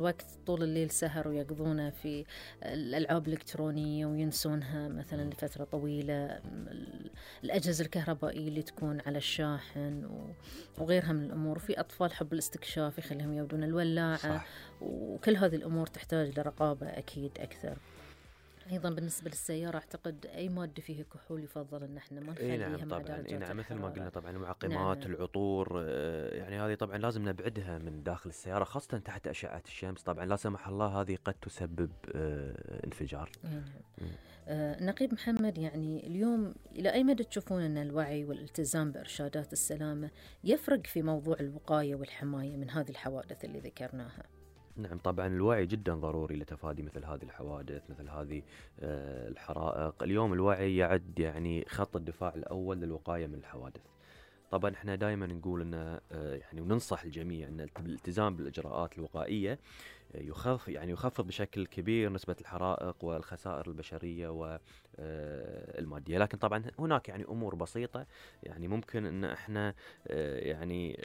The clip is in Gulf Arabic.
وقت طول الليل سهر ويقضونه في الألعاب الإلكترونية وينسونها مثلا لفترة طويلة، الأجهزة الكهربائية اللي تكون على الشاحن وغيرها من الأمور. في أطفال حب الاستكشاف يخليهم يودون الولاعة. صح. وكل هذه الأمور تحتاج لرقابة أكيد أكثر. أيضا بالنسبة للسيارة أعتقد أي مادة فيها كحول يفضل أن احنا ما اي نخليها نعم مع طبعا، درجات اي نعم مثل ما الحرارة. قلنا طبعا المعقمات، نعم. العطور، يعني هذه طبعا لازم نبعدها من داخل السيارة خاصة تحت أشعة الشمس. طبعا لا سمح الله هذه قد تسبب انفجار. نعم. نقيب محمد، يعني اليوم إلى أي مدى تشوفون أن الوعي والالتزام بإرشادات السلامة يفرق في موضوع الوقاية والحماية من هذه الحوادث اللي ذكرناها؟ نعم طبعا الوعي جدا ضروري لتفادي مثل هذه الحوادث، مثل هذه الحرائق. اليوم الوعي يعد يعني خط الدفاع الأول للوقاية من الحوادث. طبعا احنا دائما نقول ان يعني وننصح الجميع ان الالتزام بالاجراءات الوقائيه يخفض بشكل كبير نسبه الحرائق والخسائر البشريه والماديه. لكن طبعا هناك يعني امور بسيطه يعني ممكن ان احنا يعني